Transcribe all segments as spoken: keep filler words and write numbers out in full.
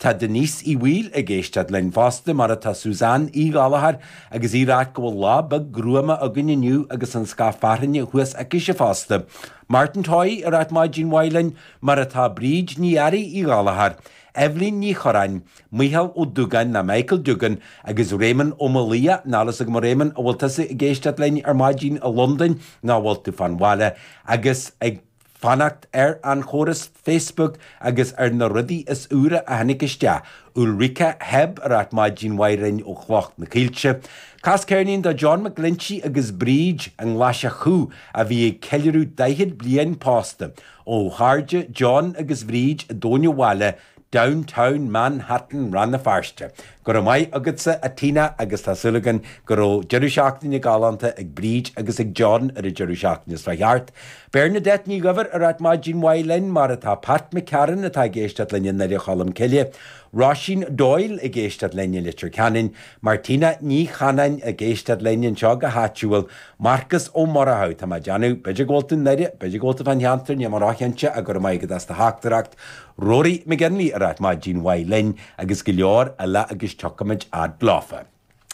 Tá Denise Uí Bhaoill ag éisteacht linn fosta mar atá Suzanne Uí Ghallchóir agus í ag ráit go bhfuil lá beag gruama againn inniu agus an scáth fearthainne thuas aicise fosta. Martin Toy ag ráit maidin mhaith linn mar atá Bríd Ní Fhearraigh Uí Ghallchóir, Evelyn Ní Choráin, Micheál Ó Dúgáin ná Michael Dugan agus Raymond Ó Malia níl a fhios agam Raymond an bhfuil tusa ag éisteacht linn ar maidin i Londain ná bhfuil tú fán bhaile agus ag fanacht ar an chóras Facebook agus ar na rudaí is úire a tháinig isteach. Ulrika Heb ag ráit maidin mhaith linn ó Chloch na Cílte. Cas ceirnín do John McGlinchey agus Bríd an Ghlaiseach a bhí ag ceiliúradh daichead bliain pósta ó chairde John agus Bríd i dTóin Bhaile downtown Manhattan Rann na Feirste. Go raibh maith agatsa a Tina agus tá súil againn go raibh deireadh seachtaine galánta ag Bríd agus ag John ar an deireadh seachtaine seo thart. Bernadette Ní Dhuibhir ag ráit maidin mhaith linn mar atá Pat McCarran atá ag éisteacht linn i nDoire Cholm Cille. Roisin Doyle ag éisteacht linn i Leitir Ceanainn, Martina Ní Chanáin ag éisteacht linn anseo go háitiúil, Marcus Ó Murchú Tá má déanamh b'fhéidir go bhfuil tú i nDoire, b'fhéidir go bhfuil tú fán cheantar ní mar ácheinte a gur maith go as do theachtaireacht. Rory McGinley ag ráit maidin mhaith linn agus go leor eile agus tiocfaimid fhad leofa.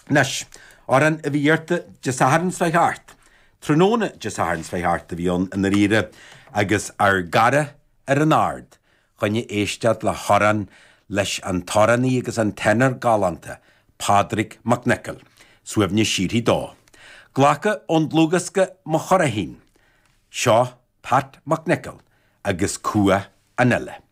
Anois, amhrán a bhí iarrta Dé Sathairn seo thart. Tráthnóna Dé Sathairn seo thart a bhí ann i ndáiríre agus ár gcara ar an ard, chun éisteacht le hamhrán leis an t-amhránaí agus an tenor galánta, Pádraig Mac Niocaill, suaimhneas síoraí dó. Glacadh ón dlúthdhiosca Mo Churraichín, seo Pat Mac Niocaill agus Cumha an Fhile.